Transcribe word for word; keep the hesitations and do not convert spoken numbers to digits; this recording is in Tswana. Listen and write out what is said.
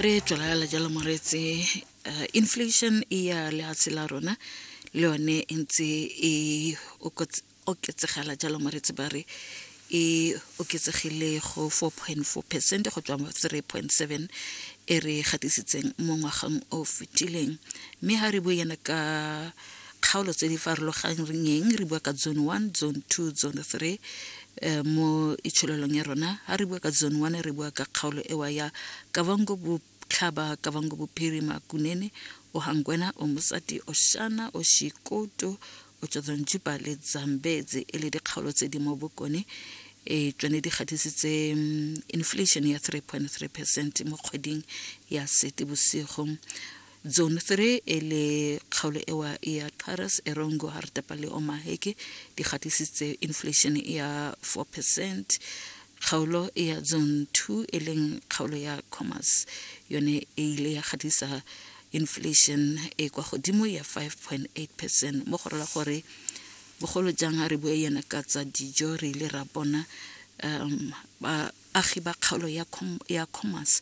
Re tswelela jalo moreetsi, uh, inflation e ya lehatshe la rona le yone e ntse e oketsegela jalo moreetsi. Ba re e oketsegile go four point four percent go tswa mo three point seven e re gatisitseng mo ngwageng o fetileng. Mme ha re bue yana ka kgaolo tse di farologaneng, re bua ka zone one, zone two, zone three eh, mo itsholelong ya rona. Ha re bua ka zone one, re bua ka kgaolo ewa ya Kavango Botlhaba, Kavango Bophirima, Kunene, Ohangwena, Omusati, Oshana, Oshikoto, Otjozondjupa le Zambezi, e le dikgaolo tse di mo bokone. E tsone di gatisitse inflation ya three point three percent mo kgweding ya Seetebosigo. Zone three e le kgaolo ewa ya Qaras, Erongo, Hardap le Omaheke, di gatisitse inflation ya four percent. Kgaolo ya zone two e leng kgaolo ya Khomas, yone e ile ya gatisa inflation e kwa godimo ya five point eight percent. Mo go rela gore bogolo jang ha re bua yana ka tsa dijo, re ile ra bona um baagi ba kgaolo ya ya Khomas